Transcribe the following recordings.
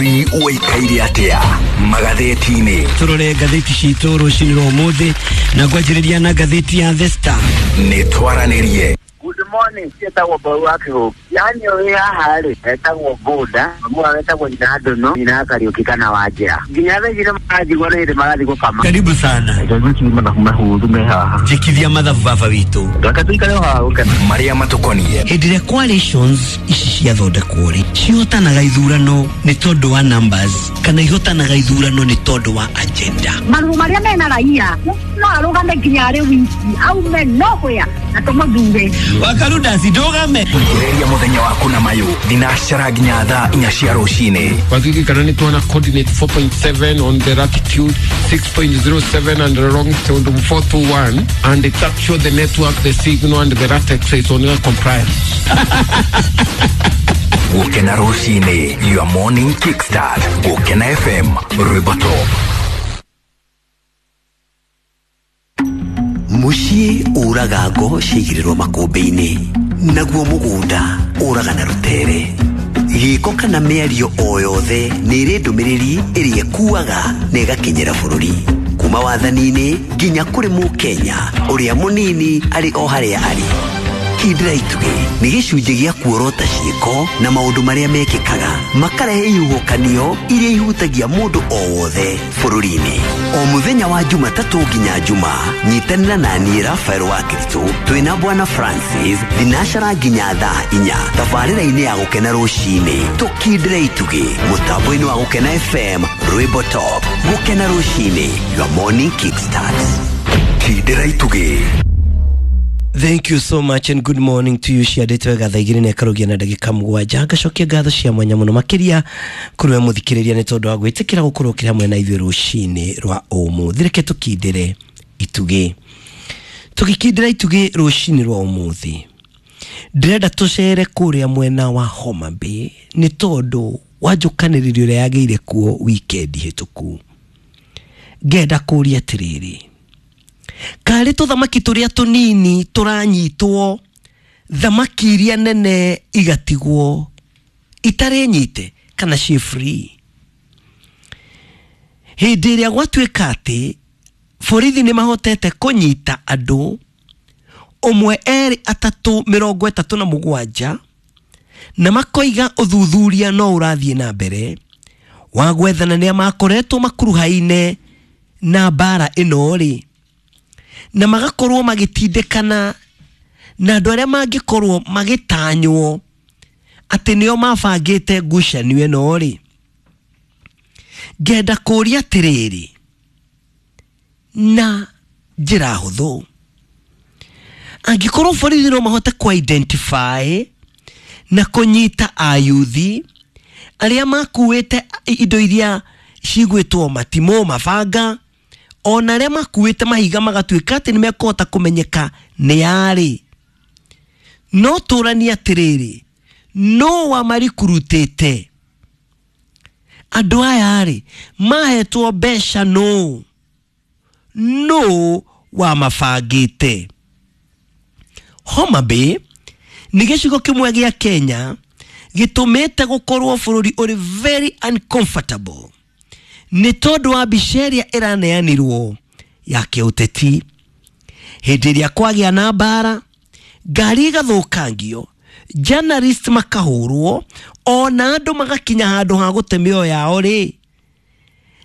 Bũrũri ũikaire atĩa magathĩti-inĩ? Tũrore ngathĩti citũ rũcinĩ rwa ũmũthĩ na ngwanjĩrĩria na ngathĩti ya The Star. Nĩ twaranĩrie. Good morning, ciĩtagwo Mbau wa Kĩhũngĩ. Yaani ũrĩ haha rĩ, etagwo Bũnda, mamu wao etagwo nyina Ndũnũ, nyina Kariũki kana Wanjĩra. Nginya thaa ici nĩmaranjigua nĩ hĩndĩ marathiĩ gũkama. Karibu sana. Reke mathabu mahũthũ me haha. Njĩkithia mathabu baba witũ. Reke tũikare o haha gũkena. Marĩa matũkoniĩ. Hĩndĩ ĩrĩa coalitions ici ciathondekwo rĩ, cihotanaga ithurano nĩ tondũ wa numbers kana ihotanaga ithurano nĩ tondũ wa agenda? Maruo marĩa mena raia no arũgame nginya arĩ wiki aume nowhere na tũmũthure. Wakarudasi ndũgame. Ĩrĩria mũthenya waku na mayũ thinacara nginya thaa 4 cia rũcinĩ. Waziri kana tuona coordinate 4.7 on the latitude, 6.07 and the longitude 421, and it's actually the network, the signal and the latex is on your compliance. Gũkena rũcinĩ, your morning kickstart. Gũkena FM, rwĩmbo top. Mũciĩ ũraga ngo ciaigĩrĩrwo makũmbĩ-inĩ, naguo mũgũnda ũraga na rũtere. Gĩko kana mĩario o yothe nĩ ĩrĩ ndũmĩrĩri ĩrĩa ĩkuaga na ĩgakinyĩra bũrũri, kuma wathani-inĩ nginya kũrĩ mũkenya ũrĩa mũnini arĩ o harĩa arĩ. Kindĩra itugĩ nĩ gĩcunjĩ gĩa kuorota ciĩko na maũndũ marĩa mekĩkaga makarehe ihuhũkanio iria ihutagia mũndũ o wothe bũrũri-inĩ. O mũthenya wa Jumatatũ nginya Juma, nyitanĩra na niĩ Rafael wa Kiritũ twĩna Bwana Francis thinacara nginya thaa 4 tabarĩra-inĩ ya Gũkena rũcinĩ. Tũkindĩre itugĩ mũtambo-inĩ wa Gũkena FM, rwĩmbo top. Gũkena rũcinĩ, your morning kickstart. Kindĩra itugĩ. Thank you so much and good morning to you. Ciandĩtwo wega thaa 2 na ĩkarugia na ndagĩka 7. Ngacokia ngatho cia mwanya mũno makĩria kũrĩ we mũthikĩrĩria nĩ tondũ wa gwĩtĩkĩra gũkorwo ũkĩrĩ hamwe na ithuĩ rũcinĩ rwa ũmũthĩ. Reke tũkindĩre itugĩ. Tũgĩkindĩra itugĩ rũcinĩ rwa ũmũthĩ, ndĩrenda tũcere kũrĩa mwena wa Homa Bay nĩ tondũ wa njũkanĩrĩrio ĩrĩa yagĩire kuo weekend hĩtũku. Ngenda kũria atĩrĩrĩ, karĩ tũthamaki tũrĩa tũnini tũranyitwo, thamaki iria nene igatigwo itarĩ nyite kana ciĩ free? Hĩndĩ ĩrĩa gwatuĩka atĩ borithi nĩ mahotete kũnyita andũ 1, 2, 3, 37, na makoiga ũthuthuria no ũrathiĩ na mbere wa gwethana nĩa makoretwo makuruhaine na mbara ĩno rĩ, na magakorwo magĩtindĩkana na andũ arĩa mangĩkorwo magĩtanywo atĩ nĩo mabangĩte ngucanio ĩno rĩ. Ngenda kũria atĩrĩrĩ na njĩra hũthũ, angĩkorwo borithi no mahote kũ identify na kũnyita ayuthi arĩa makuĩte indo iria cigwĩtwo matimũ, mabanga, ona arĩa makuĩte mahiga magatuĩka atĩ nĩmekũhota kũmenyeka nĩ arĩ, no tũranie atĩrĩrĩ, no wamarikurutĩte andũ aya rĩ, mahetwo mbeca no wamabangĩte? Homa Bay nĩ gĩcigo kĩmwe gĩa Kenya gĩtũmĩte gũkorwo bũrũri ũrĩ very uncomfortable nĩ tondũ wa mbica ĩrĩa ĩraneanirwo ya kĩũteti. Hĩndĩ ĩrĩa kwagĩa na mbara, ngari igathũkangio, journalist makahũrwo, ona andũ magakinya handũ ha gũte mĩoyo yao rĩ,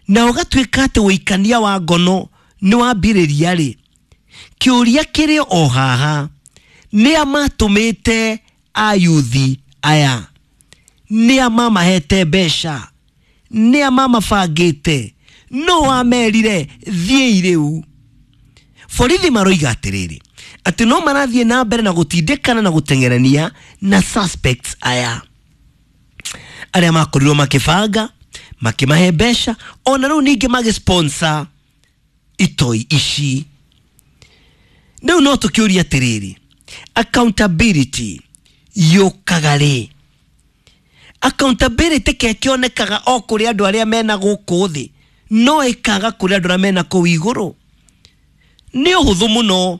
na ũgatuĩka atĩ ũikania wa ngono nĩ wambĩrĩria rĩ, kĩũria kĩrĩ o haha, nĩa matũmĩte ayuthi aya? Nĩa mamahete mbeca? Nĩa mamabangĩte? No wamerire thiĩi rĩu? Borithi maroiga atĩrĩrĩ, atĩ no marathiĩ na mbere na gũtindĩkana na gũteng'erania na suspects aya arĩa makorirwo makĩbanga, makĩmahe mbeca, ona rĩu ningĩ magĩsponsor itoi ici. Rĩu no tũkĩũria atĩrĩrĩ, accountability yũkaga rĩ? Accountability kekĩonekaga o kũrĩ andũ arĩa mena gũkũ thĩ, no ĩkaga kũrĩ andũ arĩa mena kũu igũrũ. Nĩ ũhũthũ mũno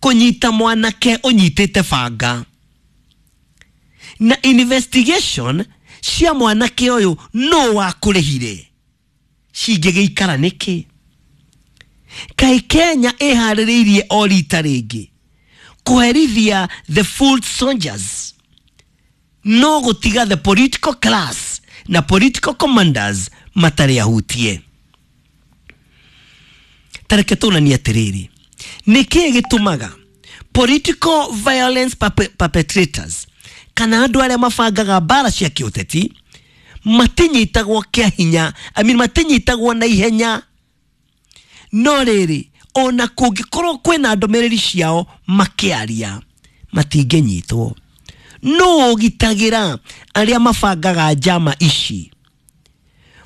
kũnyita mwanake ũnyitĩte banga, na investigation Cia mwanake ũyũ no wakũrĩhire cingĩgĩikara nĩkĩ? Kaĩ Kenya ĩharĩrĩirie o rita rĩngĩ kũherithia the full soldiers, no gũtiga the political class na political commanders matarĩ ahutie? Tareke tũnanie atĩrĩrĩ, nĩkĩĩ gĩtũmaga political violence perpetrators kana andũ arĩa mabangaga mbara cia kĩũteti matinyitagwo kĩa hinya, I mean, matinyitagwo na ihenya, no rĩrĩ ona kũngĩkorwo kwĩna ndũmĩrĩri ciao makĩaria matingĩnyitwo? No ũgitagĩra arĩa mabangaga njama ici?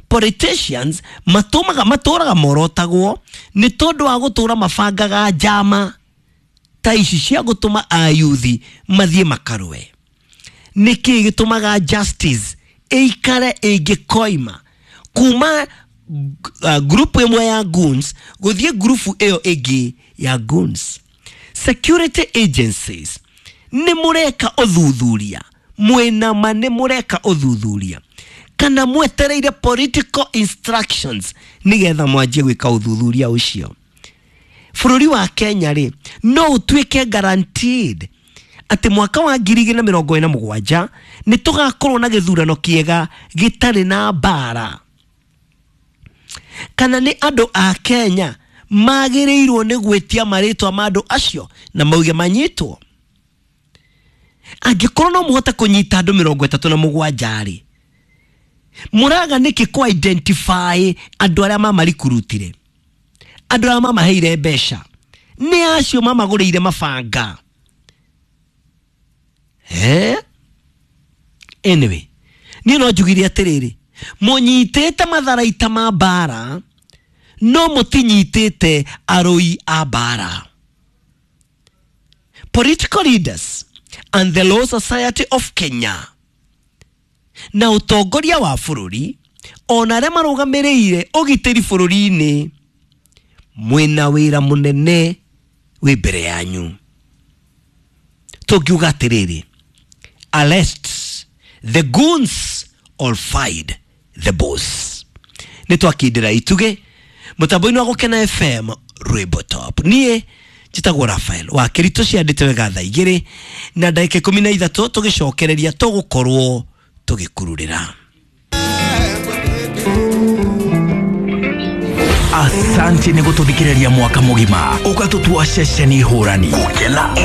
Politicians matũmaga matũraga morotagwo nĩ tondũ wa gũtũra mabangaga njama ta ici cia gũtũma ayuthi mathiĩ makarũe. Nĩkĩ gĩtũmaga justice ĩikare ĩngĩkoima kuma grupu ĩmwe ya goons gũthiĩ grupu ĩyo ĩngĩ ya goons? Security agencies, nĩ mũreka ũthuthuria mwĩna ma? Nĩ mũreka ũthuthuria kana mwetereire political instructions nĩgetha mwanjie gwĩka ũthuthuria ũcio? Bũrũri wa Kenya rĩ, no ũtuĩke guaranteed atĩ mwaka wa 2027 nĩ tũgakorwo na gĩthurano kĩega gĩtarĩ na mbara? Kana nĩ andũ a Kenya magĩrĩirwo nĩ gwĩtia marĩtwa ma andũ acio na mauge manyitwo? Angĩkorwo no mũhote kũnyita andũ 37 rĩ, mũraga nĩkĩ kũ identify andũ arĩa mamarikurutire, andũ arĩa mamaheire mbeca, nĩ acio mamagũrĩire mabanga? Eh? Anyway, niĩ no njugire atĩrĩrĩ, mũnyitĩte matharaita ma mbara no mũtinyitĩte arũi a mbara. Political leaders and the Law Society of Kenya na ũtongoria wa bũrũri ona arĩa marũgamĩrĩire ũgitĩri bũrũri-inĩ, mwĩna wĩra mũnene wĩ mbere yanyu. Tũngiuga atĩrĩrĩ, arrest the goons or find the boss. Nĩ twakindĩra itugĩ mũtambo-inĩ wa Gũkena FM, Rwĩmbo Top. Niĩ njĩtagwo Rafael wa Kĩritũ. Ciandĩte wega thaa 2:13, tũgĩcokereria tũgũkorwo tũgĩkururĩra. Asante nĩ gũtũthikĩrĩria mwaka mũgima ũgatũtua ceceni hũrani. Gũkena.